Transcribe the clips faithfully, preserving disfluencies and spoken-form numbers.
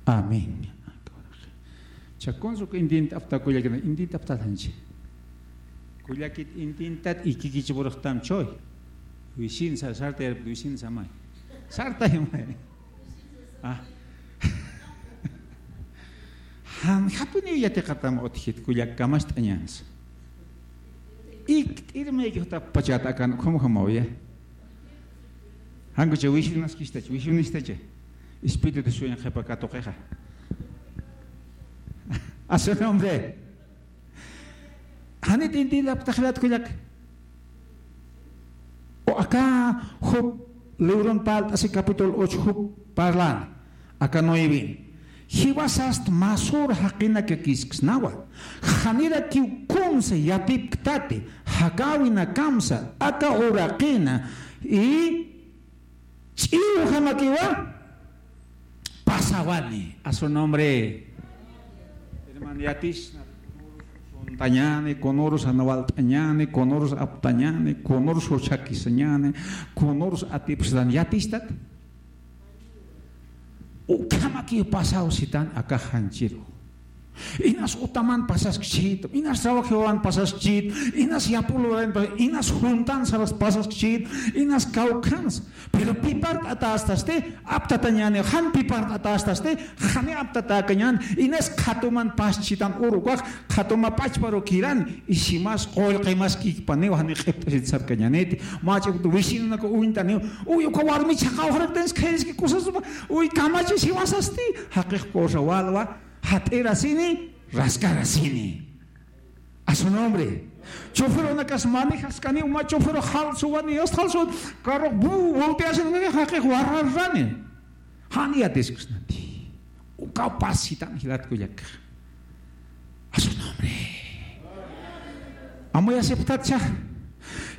Amén. Chakunsu intint'apta kullakina, intint'apta janchi. Kullakit intintat ikikichipurxtam choy. Wisin sa-, sarta yarpit wisin samay. Sarta yumay. Ah. Jan japuniw yatiqatam utjit kullak kamacht'añans. Ikt'irmaykixtap pachat akan ukham ukhamaw ya. Jankucha wisinasqistacha, wisinasqistacha. Espíritu sueño qhipa katuqixa. A su nombre. Janit inti laptaxlat kullak. O aka Job libron palt'asi capítulo ocho Job parlan. Aka nueve. Jiwasast masur jaqinakakisksnawa. Janirakiw kunsa yatipktati. Jakawinakamsa. Aka uraqina. Y ch'iwjamakiwa pasawani a su nombre. Hermano, yatisna, kunurus suntañani, kunurus anawalt'añani, kunurus aptañani, kunurus juchakisañani, kunurus atipstan, yatistat. Ukhamakiw pasaw sitan aka janchiru. Inas utaman pasaskchit, inas trabajowan pasaskchit, inas yapuluran pas-, inas juntan sabas pasaskchit, inas kawkhans. Pero pipart'atastasti, aptatañani, jan pipart'atastasti, jani aptatakañan, inas qhatuman paschitan urukax, qhatuma pachparu kiran, isimas qullqimas kikpaniw, jani q'ipt'asit sarkañaniti, mach'iptu wisinanaka uñtaniw, uy, uka warmi chhaqawxaraktansi khayriski kusasuma, uy, kamachi siwasasti, jaqix kusa walwa, jat'irasini, raskarasini. A su nombre. Choferunakas manejaskani, uma choferu jalsuwani, yast jalsuwani, carro bu, volteasini, jaqix warrarrani. Jan yatiskusnati. Ukaw pasitan jilat kullak. A su nombre. Amuyasipxtatcha.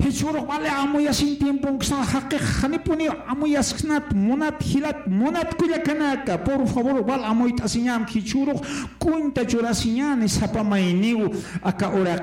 Jichhürux vale amuyasin tiemponksa jaqix janipuniw amuyasknat munat jilat munat kullakanaka. Por favor, val amuyt'asiñam jichhürux cuenta churasiñani sapa mayniw aka uraq